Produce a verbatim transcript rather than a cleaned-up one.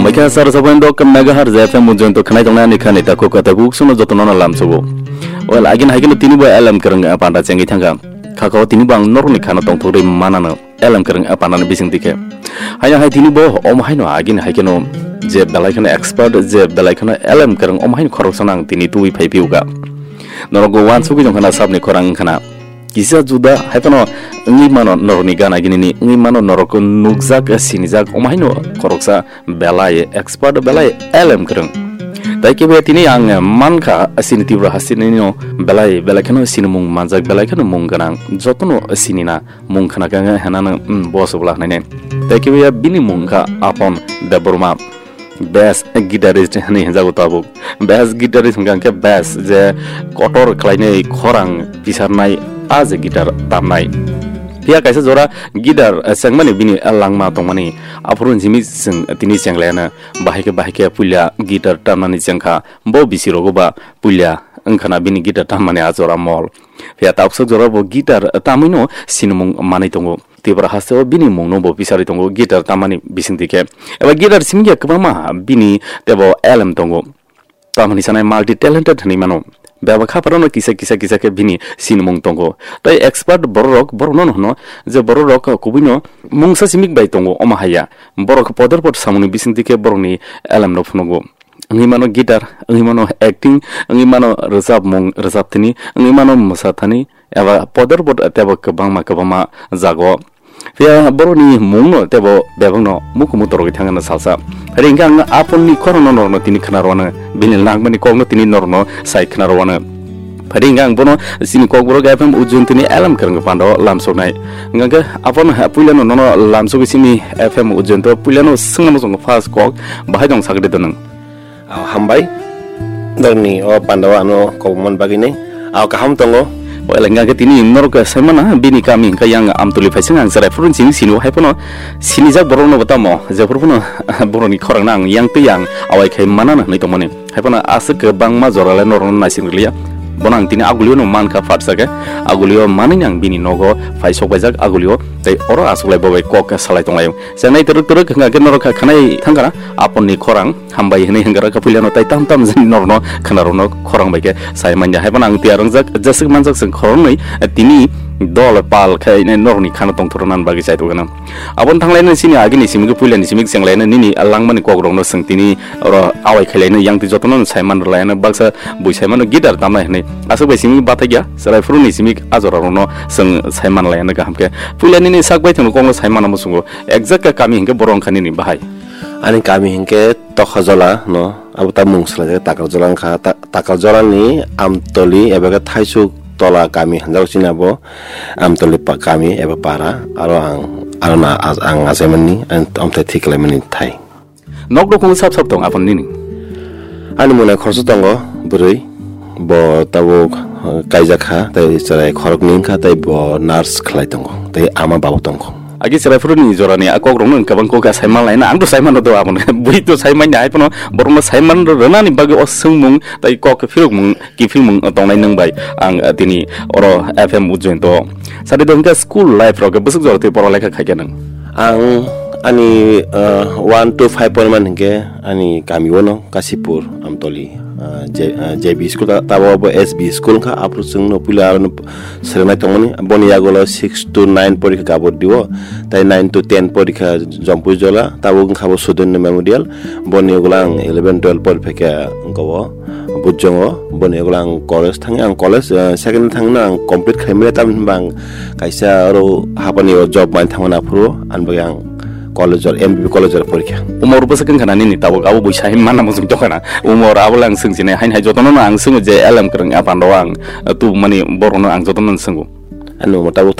Oikha sar sabon dok megahertz F M ujoin to khnai tongnai ani khani ta kok ta guk suno jotono na lam sogo. Well, agin haikeno tini bo L M kereng panda chengwi thangka. Khakao tini bo ang norni khano tongthok rwi manano L M kereng panda ni bising dikhe. Haino hai tini bo om haino agin haikeno je belai khano expert je belai khano L M kereng om haino khoroksa nang tini tui phai piuka. Norok go wan sugwi jong khana sabni khorang khana. Kisa juda hai phano wngwi mano norokni gana ginini wngwi mano norok nukjak sinijak om haino khoroksa belai expert belai L M kwrwng. Tai kebo tini ang mankha sini Tripura hasteni no belai belai kheno sinimung manjak belai kheno mung gwnang jotono sinina mung khna khe hwnano, mm, boss bwla hwnwi nai. Tai kebo bini mung kha Apon Debbarma. Best guitarist hwnwi hwnjago tabuk. Best guitarist hwnkha hwnkhe best je kotor khlainai khorang pisarnai a je guitar tamnai. Phiya kaisa jora guitar, eh, chengmani bini langma tongmani aphuru simi chwng tini chenglayana bahai khe bahai khe puila guitar tamnani chengkha bo bisi rogo ba puila wngkhana bini guitar tammani a jora mol. Phiya tabuksa jora bo guitar tamwino sinimung manwi tongo. Tripura hasteo bini mungno bo pisari tongo guitar tamani bisingtwi khe. Eba guitar simi ya kwbangma bini tebo L M tongo. Tamani sanai multi talented hwnwi mano. Beba khaphar no kisa kisa kisa khe bini sinimung tongo. Tai expert bororok borokno hwno je bororok kubuino mungsa simik bai tongo omo haya. Borok podor pod samungni bisingtwi khe borokni L M no phunugo. Wngwi mano guitar, wngwi mano acting, wngwi mano rwchapmung, rwchapthani, wngwi mano mwsathani, eba podor pod tebo kwbangma kwbangma jago. Phiya borokni mungno tebo bebakno mukumu torogwi thangna salsa. Phai hwnkhe ang Aponni khorangno norokno tini khna rwano, bini langmani kokno tini norokno sai khna rwano. Phai hwnkhe ang bono chini kokborok F M Ujjoyantini L M kwrwngwi pando lamsoknai. Hwnkhe Apon puilano nono lamsogwi chini F M Ujjoyanto puilano swngna muchungo first kok bahai tong sakri do nwng. Ah, hambai. Norokni o pandao ano kobokmani bagwi ni. Ah, kaham tongo. Oile hwnkha khe tini norok saimana bini kami hwnkha yang Amtoli phaising ang chwrai phuru chini sini o hai phano sinijak borok no bo tamo jephuru phano borok ni khorang no ang yang twi yang awai khai mana hwnwi tongmani. Hai phano aswk kwbangma jora le norok no naising rwliya. Bono ang tini agulio no mankha phatsa khe agulio manwi ang bini nogo phai sok baijak agulio tei oro aswk lai bo bai kok salai tong lai. Chengnai twrwk twrwk hwnkha khe norok kha khanai thangkha na Apon ni khorang. Hambai hwnwi hwnkha khe puilano tai tam tam jani norokno khwnarokno khorang bai khe sai manya. Hai phano ang tiyar wngjak jeswk manjak chwng khoroknwi tini dol pal khe norokni khano tongthorna bagwi chai tongkha. Aboni thanglaino chini agini simi khe puilani simi chenglaino nini langmani kokrokno chwng tini oro awai khailaino yang twi jotono sai man rwlaino baksa bui sai mano guitar tamnai hwnwi aswk bai simi bathakya chwrai phuruni simi ajorarokno chwng sai manlaino kaham khe puila nini sak bai thwngno kokno sai mana muchungo exact kami hwnkhe borok wngkha nini bahai. Ani kami hinkhe Tokhajola no, abo ta mung swlaijak Takarjola wngkha. Ta-, Takarjola ni Amtoli eba khe Thaisuk Tola kami hinjago chini abo Amtoli pa-, kami eba para. Aro ang, aro na, ang achaimani, ang amthai thik khlaimani thai. Nok nukhung sap sap tong Apon nini? Ani mwnai khoroksa tongo bwrwi. Bo tabuk, uh, kaijak kha, tei chwrai khoroknwi wngkha, tei bo nurse khlai tongo, tei ama babu tongkho. Agi chwrai phuruni jorani a kokrokno wng kwbang kok a sai manlaina, ang to sai mano do aboni. Bui to sai manya, hai phano borokno sai man rwnani bagwi o swngmung tei kok phirokmung kiphilmung tongnai nwng bai ang, uh, tini oro F M Ujjoyonto. Sadi do hwnkhe school life rok bwswk jora twi pora lekha khaikha nwng? Ang ani, uh, one to five poinman hinkhe ani kami o no Kasipur Amtoli, ah, J-, ah, J B school ta-, tabo bo S B school wngkha, aphuru chwngno puila aro no swrwngnai tongmani. Boni yagulo six to nine porikha Gaboddi o, tai nine to ten porikha Jompui Jola, tabuk wngkha bo Sudono Memorial. Boni yagulo ang eleven twelve pori phaikha wngkha o Bujjongo. Boni yagulo ang college thangwi, ang college, ah, second thangno ang complete khlaimani, tamni hwnba ang kaisa oro hapani o job mani thangmani aphuru, ani bagwi ang college o, M B B college o porikha. Umor bwswk wngkha na nini tabuk, abo buisa hai manna muchung tongkha na. Umor abo le ang swngchinai, haini hai jotono no ang swngo je L M kwrwng a pando ang, uh, tubumani borokno ang jotono no swngo. Ani umor tabuk